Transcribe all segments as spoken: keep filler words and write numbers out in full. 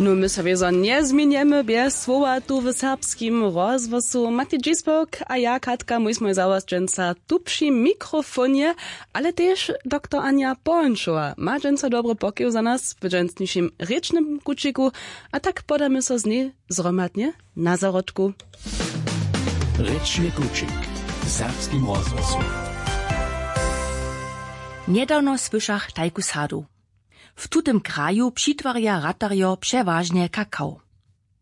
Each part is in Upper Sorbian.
No, my so wězo njezměnjemy bjez słowa tu w serbskim rozhłosu. Matej Dźispok a ja, Katka, mój smój za was dźensa tu při mikrofonje, ale tež doktor Anja Połančowa ma dźensa dobry pokiw za nas w dźensnišim rěčnym kućiku, a tak podamy so z njej zhromadnje na zarodku. Rěčny kućik w serbskim rozhłosu. Njedawno słyšach tajku sadu. W tutym kraju přitwarja ratarjo přewažnje kakao.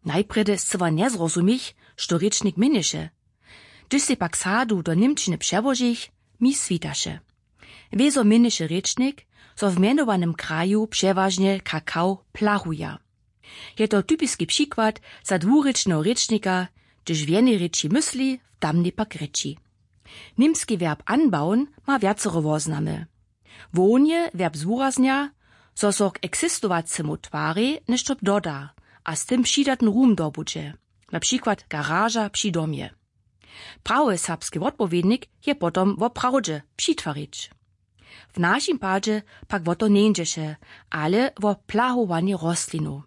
Najprjedy scyła njezrozumich, što rěčnik měnješe. Hdyž sej pak sadu do němčiny přełožich, mi switaše. Wězo měnješe rěčnik, zo w mjenowanym kraju přewažnje kakao plahuja. Je to typiski přikład za dwurěčneho rěčnika, hdyž w jenej rěči mysli, w tamnej pak rěči. Němski werb anbauen ma wjacore woznamy. Hłownje werb zwuraznja, zo so k eksistowacemu twarej něšto doda a z tym přidatny rum dobudźe, na přikład garaža při domje. Prawy serbski wotpowědnik je potom woprawdźe přitwarić. W našim padźe pak wo to njeńdźeše, ale wo plahowanje rostlinow.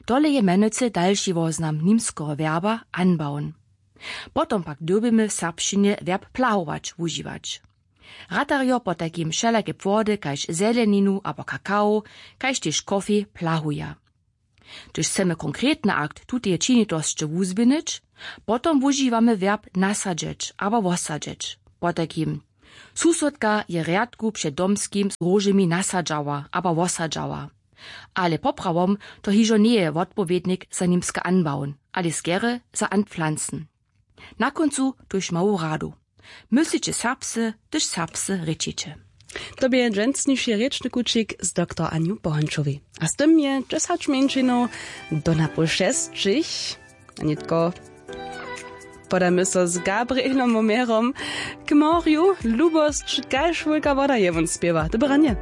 Tole je mjenujcy dalši woznam nimskeho werba anbauen. Potom pak dyrbimy w serbšćinje werb plahować wužiwać. Ratarjo potajkim wšelake płody kaž zeleninu abo kakao, kaž tež kofej plahuja. Hdyž chcemy konkretny akt tuteje činitosće wuzběhnyć, potom wužiwamy werb nasadźeć abo wosadźeć. Potajkim: Susodka je rjadku před domskim z róžemi nasadźała abo wosadźała. Ale poprawom to hižo njeje wotpowědnik za nimske anbauen, ale skerje za anpflanzen. Na kóncu tuž mału radu: Mysliće serbsce, hdyž serbsce rěčiće. To bě dźensniši rěčny kućik z doktor Anju Pohančowej. A z tym je dźesać mjeńšinow do napoł šesćich. A nětko podamy so z Gabrielom Omerom k morju. Lubosć kaž wulka woda je wón spěwa. Dobre ranje.